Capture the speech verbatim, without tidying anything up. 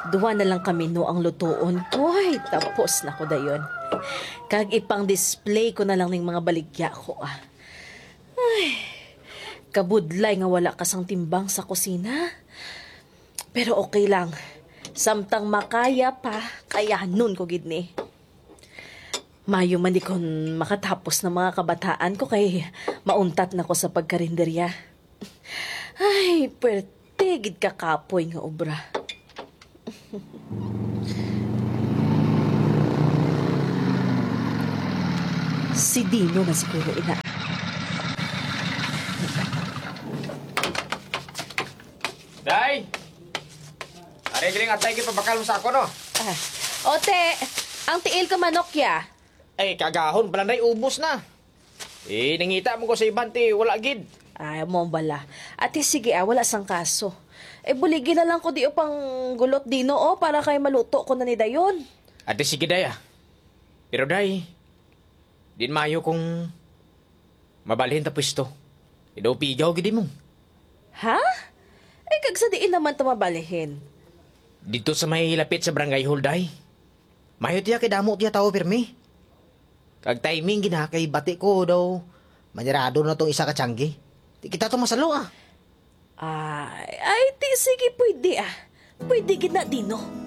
Duha na lang ka menu ang lutuon ko. Ay, tapos na ko dayon. Kag ipang-display ko na lang ning mga baligya ko, ah. Ay, kabudlay nga wala ka sang timbang sa kusina. Pero okay lang. Samtang makaya pa, kayanon ko gid ni. Mayo man di kon makatapos ng mga kabataan ko kay mauntat na ko sa pagkarinderya. Ay, pwerte gid ka kapoy nga obra. Si Dino na siguro ina. Day! Ari, galing atay, kay pabakal mo sa ako, no? Ah. Ote, ang tiil ka manok ya. Ay, kagahon pala, Day, ubos na. Eh, nangita mo ko sa iban, ti, wala gid. Ay, mo bala. Ate, sige, ah, wala sang kaso. Eh, buligi na lang ko di o pang gulot dino, oh, para kay maluto ko na ni dayon. Ate, sige, Day, ah. Pero, Day, din mayo kung mabalhin ta pwesto. Idaw pigaw gid mo. Ha? Ay, kag sa diin naman ta mabalhin? Dito sa may lapit sa barangay hall, Day. Mayo tiya kay damo tiya tawo pirmi. Kag timing gid na kay bati ko daw manirado na tong isa ka tiyanggi. Di kita to masalo, ah. Ay, ay, ti, sige, pwede, ah. Pwede gid na, Dino.